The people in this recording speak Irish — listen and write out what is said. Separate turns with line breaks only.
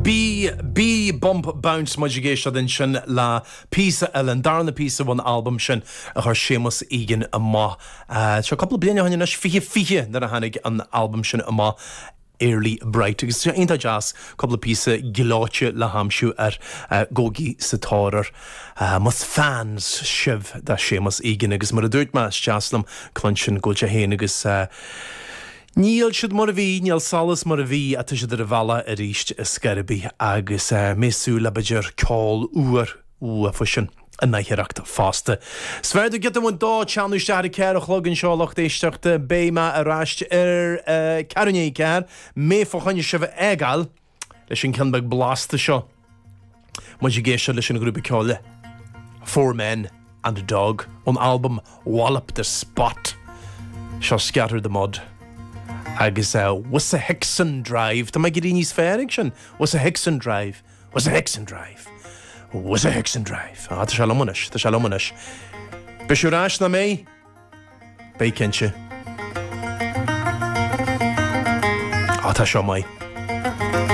B B Bump Bounce muid ag éisteacht ansin le píosa eile, an darna píosa ón albam sin a chuir Séamus Egan amach. Seo cúpla bliain ó shin anois, 2020 nuair a tháinig an albam sin amach. Early Bright agus tá sé iontach deas cúpla píosa gleoite le haimsiú air. Gabhaigí sa tóir air más fans sibh de Séamus Egan agus mar a dúirt mé is deas liom cluinstin go bhfuil sé féin agus Níl siad mar a bhí, níl Solas mar a bhí ach tá siad ar a bhealach arís ar scor ar bith agus mé ag súil le b'fhéidir ceol úr uafusan in oidhreacht fosta. Is fearr do giota amháin dó teannadh isteach ar a ceathair a chlog anseo a lucht éisteachta. Beidh mé ar ais ar ceathrú i ndiaidh a ceathair. Mé fá choinne sibh a fhágáil leis an ceann beag blasta seo. Muid ag éisteacht leis an ghrúpa ceoil Four Men and a Dog ón albam Wallop the Spot. Seo Scatter the Mud agus Wissahickson Drive. Tá mé ag éirí níos fearr ag sin. Wissahickson Drive. Wissahickson Drive. Wissahickson Drive. Ah, tá sé liom anois, tá sé liom anois. Beidh sibh ar ais, nach mbeidh? Beidh cinnte. Ah, tá seo maith.